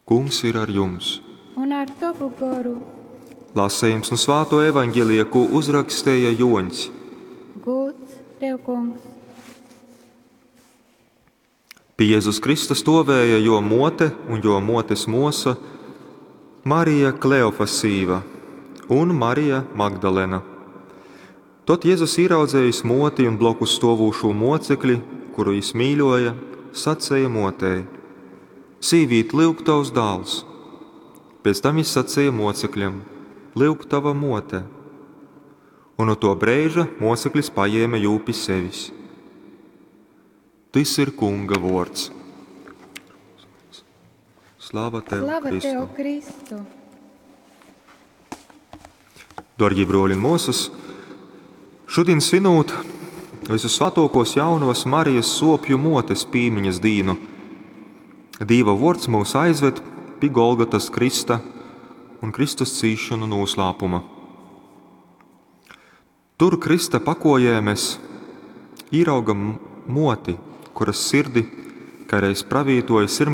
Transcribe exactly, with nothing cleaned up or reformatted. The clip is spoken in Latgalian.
Kungs ir ar jums! Un ar tovu goru. Lasījums nu Svāto evaņģelija, ko uzrakstīja Joņs. Gods tev, Kungs! Pie Jēzus Krista stovēja jo mote un jo motes mosa Marija Kleofasīva un Marija Magdalena. Tad Jēzus ieraudzējis moti un blokus stovūšū mocekli, kuru jis mīļoja, sacēja motei: Sīvīt, lyuk tavs dāls! Pēc tam jis sacīja mocekļam: Lyuk tava mote! Un no to breiža moceklis paņēma jū pi sevis. Tys ir Kunga vords. Slava tev, Slava Kristu! tev, Kristu! Darbie broļi un māsas, šodien svinot visu svētākos jaunavas Marijas sopju motes pīmiņas dīnu, Dīva vords mūs aizved pie Golgatas Krista un Kristus cīšanu noslēpuma. Tur Krista pakojē mēs ieraugam moti, kuras sirdi, kā reiz pravītoja